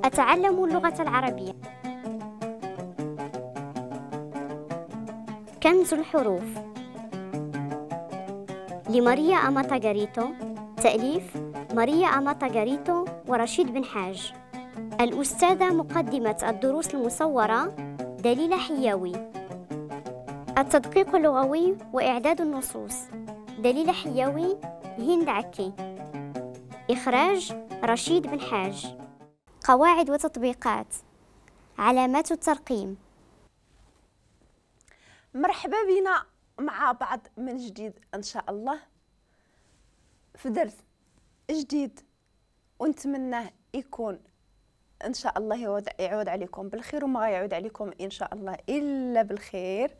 أتعلم اللغة العربية. كنز الحروف لماريا أماتا غاريتو، تأليف ماريا أماتا غاريتو ورشيد بن حاج. الأستاذة مقدمة الدروس المصورة دليلة حياوي. التدقيق اللغوي وإعداد النصوص دليلة حياوي، هند عكي. إخراج رشيد بن حاج. قواعد وتطبيقات، علامات الترقيم. مرحبا بنا مع بعض من جديد إن شاء الله في درس جديد، ونتمنى يكون إن شاء الله يعود عليكم بالخير، وما يعود عليكم إن شاء الله إلا بالخير.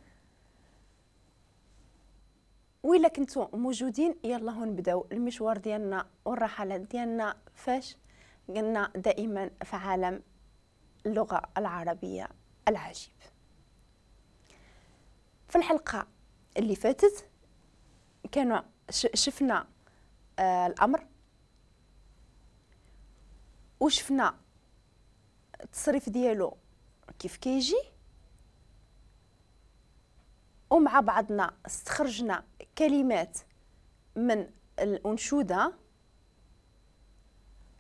وإلا كنتو موجودين يلا نبداو المشوار ديالنا والرحلات ديالنا، فاش قلنا دائما في عالم اللغة العربية العجيب. في الحلقة اللي فاتت كانوا شفنا الأمر، وشفنا التصريف ديالو كيف كيجي، ومع بعضنا استخرجنا كلمات من الأنشودة،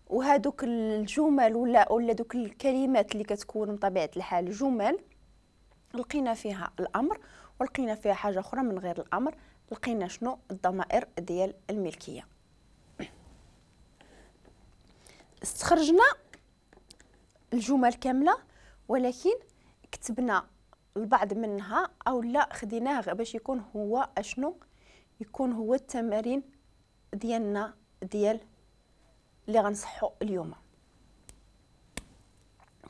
وهادوك الجمل ولا دوك الكلمات اللي كتكون بطبيعة الحال جمل، لقينا فيها الأمر ولقينا فيها حاجة أخرى من غير الأمر، لقينا شنو؟ الضمائر ديال الملكية. استخرجنا الجمل كاملة، ولكن كتبنا البعض منها أو لا خديناه باش يكون هو أشنو؟ يكون هو التمارين ديالنا ديال اللي غنصحو اليوم.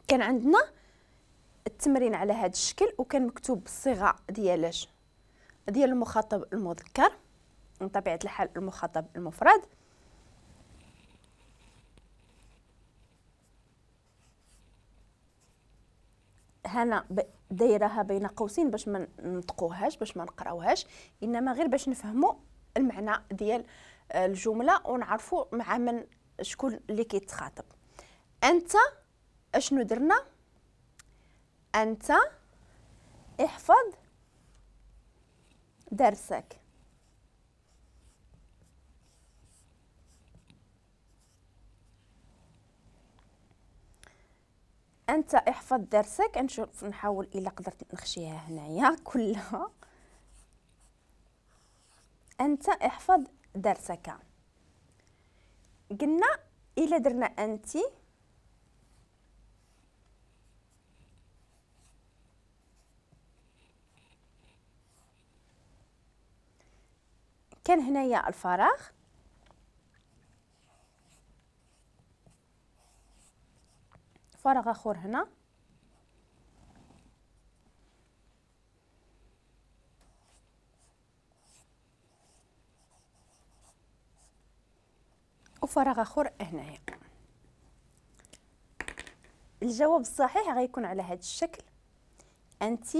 كان عندنا التمرين على هذا الشكل، وكان مكتوب بالصيغه ديالاش؟ ديال المخاطب المذكر، من طبيعة الحال المخاطب المفرد. هنا دايرها بين قوسين باش ما ننطقوهاش، باش ما نقراوهاش، انما غير باش نفهموا المعنى ديال الجملة ونعرفوا مع من شكون اللي كيتخاطب. انت اشنو درنا؟ انت احفظ درسك. انت احفظ درسك. نشوف نحاول الا قدرت نخشيها هنايا كلها. انت احفظ درسك. قلنا الا درنا انت كان هنايا الفراغ، فراغ اخر هنا، وفراغ اخر هنايا. الجواب الصحيح غيكون على هذا الشكل: انت